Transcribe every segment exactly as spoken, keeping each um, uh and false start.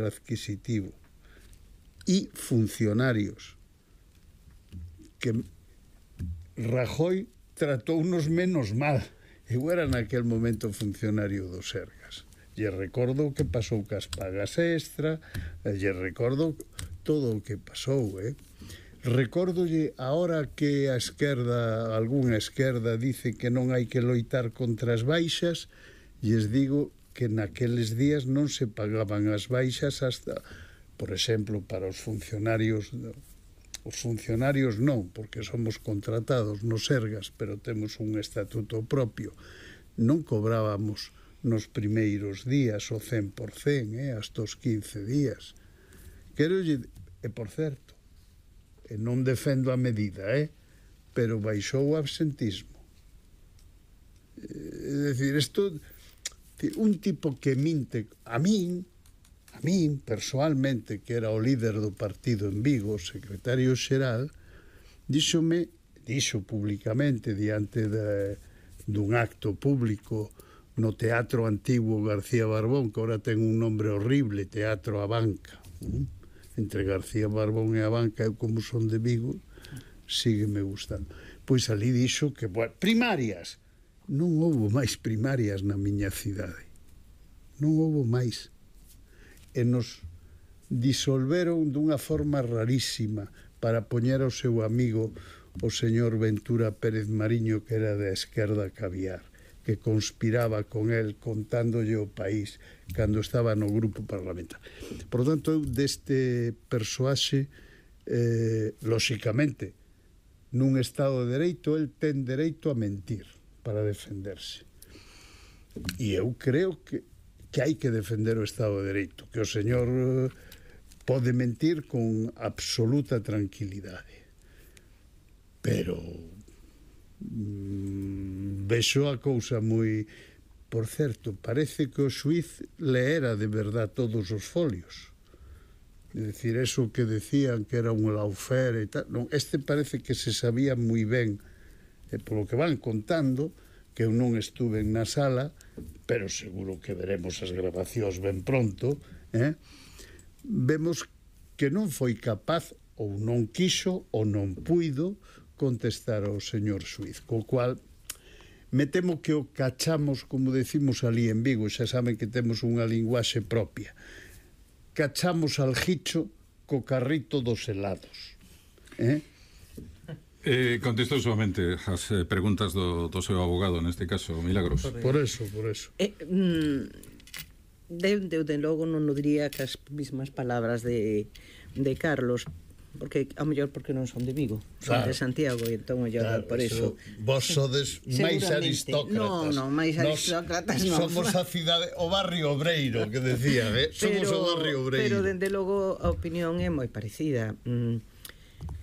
adquisitivo e funcionarios que Rajoy tratounos menos mal. Eu era naquel momento funcionario do Sergas. Lle recordo o que pasou cas pagas extra, lle recordo todo o que pasou, eh? Recórdolle, ahora que a esquerda, algunha esquerda, dice que non hai que loitar contra as baixas, lles digo que naqueles días non se pagaban as baixas hasta, por exemplo, para os funcionarios, os funcionarios non, porque somos contratados no Sergas, pero temos un estatuto propio, non cobrábamos nos primeiros días o cen por cen, eh, hasta os quince días. Quero lle, e por certo, e non defendo a medida, eh, pero baixou o absentismo. É dicir, isto, un tipo que minte, a min, a min, persoalmente, que era o líder do partido en Vigo, o secretario xeral, díxome, dixo públicamente diante de, dun acto público no Teatro Antiguo García Barbón, que ahora ten un nombre horrible, Teatro A Banca. Entre García Barbón e A Banca, eu como son de Vigo, sígueme gustando. Pois ali dixo que, bueno, primarias, non houbo máis primarias na miña cidade. Non houbo máis. E nos disolveron dunha forma rarísima para poñer ao seu amigo o señor Ventura Pérez Mariño, que era da esquerda caviar, que conspiraba con el contándolle o país cando estaba no grupo parlamentar. Por tanto, eu deste persoaxe, eh, lóxicamente, nun Estado de Dereito, el ten dereito a mentir para defenderse. E eu creo que, que hai que defender o Estado de Dereito, que o señor eh, pode mentir con absoluta tranquilidade. Pero mm, vexo a cousa moi... Por certo, parece que o xuiz leera de verdad todos os folios. É dicir, eso que decían que era un laufer e tal, non, este parece que se sabía moi ben, e polo que van contando, que eu non estuve na sala, pero seguro que veremos as grabacións ben pronto, eh? Vemos que non foi capaz, ou non quixo, ou non puido contestar ao señor xuiz, co cual me temo que o cachamos, como decimos ali en Vigo, xa saben que temos unha linguaxe propia, cachamos al jicho co carrito dos helados, eh? Eh, contestou solamente as eh, preguntas do, do seu abogado, neste caso, Milagros. Por eso, por eso. Eh, mm, de, de, de logo non o diría que as mismas palabras de, de Carlos, porque ao mellor porque non son de Vigo, son claro. de Santiago, e entón o claro, por eso, eso vos sodes máis aristócratas. Non, non, máis aristócratas non. Somos a cidade, o barrio obreiro, que decía, eh? Somos pero, o barrio obreiro. Pero dende logo a opinión é moi parecida.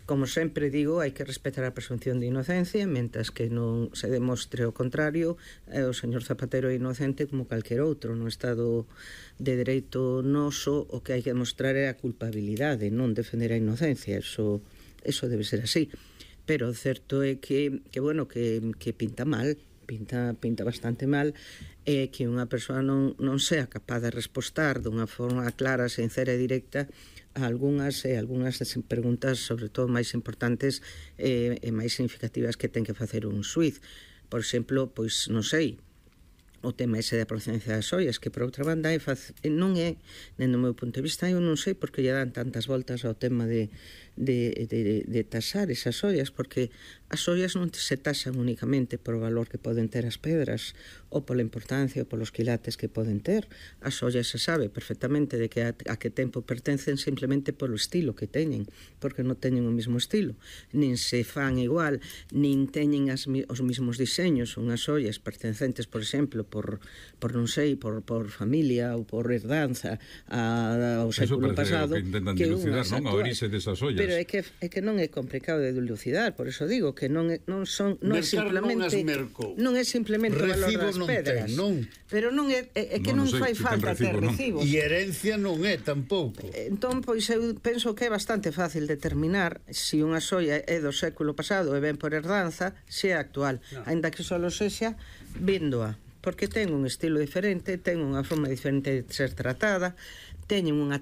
Como sempre digo, hai que respetar a presunción de inocencia, mentras que non se demostre o contrario, o señor Zapatero é inocente como calquer outro. No Estado de Dereito noso, o que hai que demostrar é a culpabilidade, non defender a inocencia. Eso, eso debe ser así. Pero o certo é que, que bueno, que, que pinta mal, pinta, pinta bastante mal, é que unha persoa non, non sea capaz de respostar dunha forma clara, sincera e directa a algunhas e algunhas preguntas, sobre todo máis importantes e, e máis significativas que ten que facer un xuiz. Por exemplo, pois non sei, o tema ese da procedencia das ollas, que por outra banda é fac... non é, dentro do meu punto de vista, eu non sei por que lle dan tantas voltas ao tema de, de, de, de tasar esas ollas, porque as ollas non se tasan únicamente por o valor que poden ter as pedras ou pola importancia ou polos quilates que poden ter. As ollas se sabe perfectamente de que a, a que tempo pertencen simplemente polo estilo que teñen, porque non teñen o mesmo estilo, nin se fan igual, nin teñen as, os mesmos diseños. Unhas ollas pertencentes, por exemplo, por, por non sei, por, por familia ou por herdanza a, ao século pasado, que intentan dilucidar, non? A orixe desas ollas. Pero é que, é que non é complicado de dilucidar, por eso digo que non é, non son, non é simplemente non é simplemente o valor das pedras, ten, non. Pero non é, é, é que non, non fai falta ter recibos. E herencia non é tampouco. Entón, pois eu penso que é bastante fácil determinar se unha xoia é do século pasado e ben por herdanza, se é actual, no. Ainda que só sexa véndoa, porque ten un estilo diferente, ten unha forma diferente de ser tratada, teñen unha